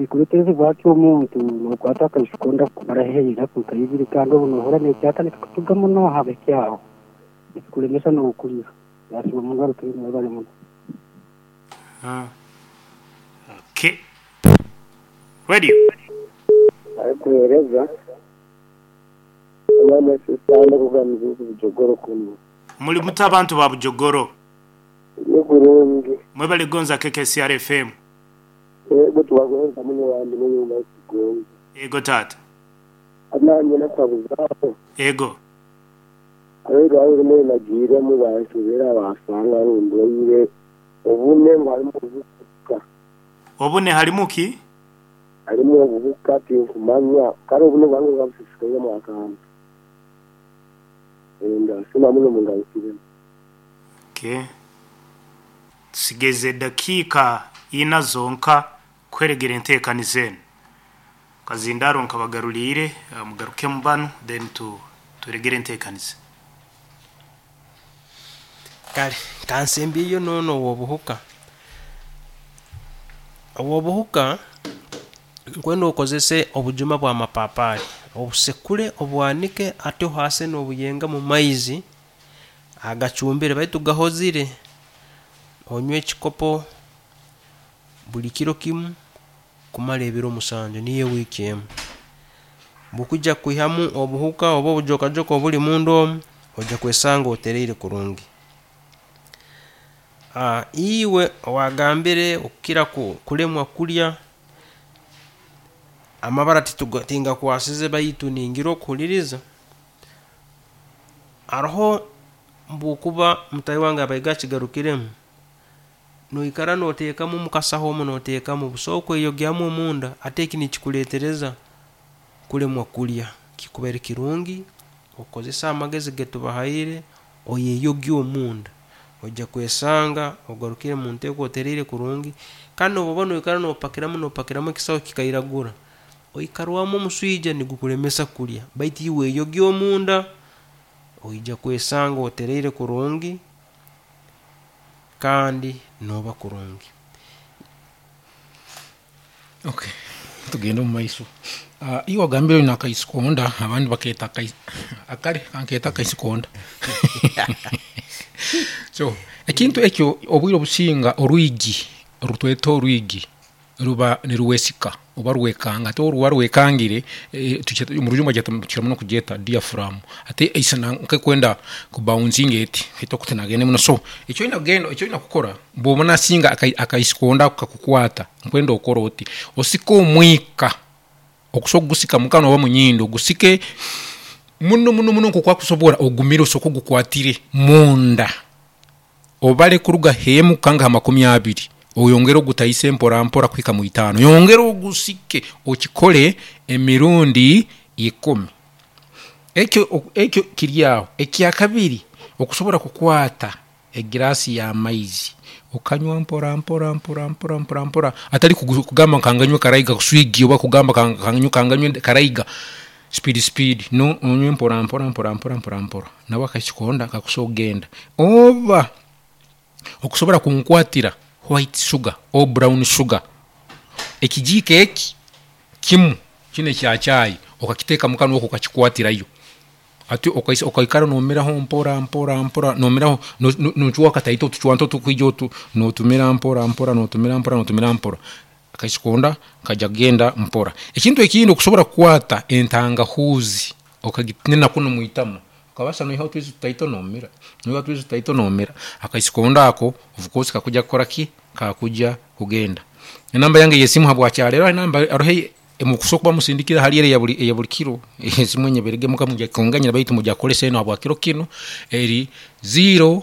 Kikuleetereza bwaki omuntu nookwata akaisikonda kumara haihi enaku nka ibiri, kandi obu noohurra n'ekyaka nikikutuga muno ha bikyaho, nikikulemesa n'okulya. Nasiima mungarukiremu, mwebale muno. Okay. Radio. Arikuheereza omwana Sande kuruga Muzizi Bujogoro kunu. Muli muta abantu ba Bujogoro? Ndi kurungi. Mwebale gonza KKCR FM. Yego tubagonza muno bambi n'enyumba tugonza. Ego taata. Nanye nakabuzaho. Ego. Hariho eirwariro rimwe nagiiremu banshobera bansanga ngu ndwaire obune ngu harimu obuhuka. Obune harimu ki? Harimu obuhuka tinkumanya kare obune bwange buba busisikairemu akantu. Ndasiima muno mungarukiremu. Okay. Tusigaize edakiika ina zonka kweregera enteekaniza enu. Kazindaro nkabagaruriire, mugarukemu banu then turegere enteekaniza. Kale kansembyeyo n'ono ow'obuhuka. Ow'obuhuka nkwenda okozese obujuma bw'amapapaali, obusekule obwanike ati ohaase n'obuyenga mu maizi agacumbire baitu gahozire, onywe ekikopo buli kiro kimu kumara ebiro 7, niyo wiiki emu. Bukwija kukwihamu obuhuka oba obujokajoka obuli munda omu, oija kwesanga otereire kurungi. Iwe owagambire okukira kulemwa kulya, amabara tingakwasize baitu ningira okuhuliriza, haroho obu okuba mutaahi wange abaire akigarukiremu, noikara nooteekamu omu kasaho omu nooteekamu, busaho kweyogyamu omunda, ate eki nikikuleetereza kulemwa kulya. Kikubaire kirungi okozese amagezi getubahaire, oyeyogye omunda, oija kwesanga ogarukire munteeko otereire kurungi, kandi obu oba noikara noopakiramu noopakiramu ekisaho kikairagura, oikarwamu omuswija nigukulemesa kulya, baitu iwe weyogya omunda, oija kwesanga otereire kurungi kandi nooba kurungi. Okay, tugende omu maiso. Iwe ogambire oine akaisikonda, abandi bakeeta akare kankeete akaisikonda. So ekintu ekyo obwire obusinga orwigi, rutweta orwigi ruba niruwesika oba rwekanga, hati obu rukuba rwekangire, omu Rujungu tukira muno kugyeta diaphragm, hati eisana nkekwenda kubouncinga eti hati okwo tinagenda muno. So eki oine kukora bwobona singa akaisikonda ako kakukwata, nkwenda okore oti, osike omwika, okusobola okugusika mukanwa oba munyindo, ogusike muno muno muno nkoku wakusobora, ogumire osooke ogukwatire munda, obale kuruga h'emu kukanga ha 20, oyongere ogutaise mpora mpora kuhika mwitaano, oyongere ogusike okikole emirundi 10. Ekyo kiri aho. Ekyakabiri, okusobola kukwata egiraasi y'amaizi okanywa mpora mpora mpora mpora mpora mpora, hatari kugamba kanganywe karaiga swigi oba kugamba kanganywe karaiga speed speed, no, onywe mpora mpora mpora mpora mpora mpora, nabwo akaisikonda kakusobola kugenda. Oba okusobola kunkwatira white sugar or brown sugar, ekijiiko eki kimu kinu ekya chai okakiteeka mukanwa oku okakikwatirayo, hati okaikara nomiraho mpora mpora mpora nomiraho, nocwaho kataito otucwanto otukwija otu, notumira mpora mpora notumira mpora notumira mpora, akaisikonda kaija kugenda mpora. Ekintu ekindi, okusobola kukwata entangahuuzi okagitinina kunu mwitama, okabasa noihaho otwizi tutaito nomira, noihaho otwizi tutaito nomira, akaisikonda ako of course kakuja kukoraki, kakujja kugenda. Enamba yange ey'esimu habwa kyarero enamba haroho mukusobola kuba musindikire hali eri eya buli kiro, esimu enyeberege muka mugya kukinganyira baitu mugya kukozesa enu habwa kiro kinu eri ziro.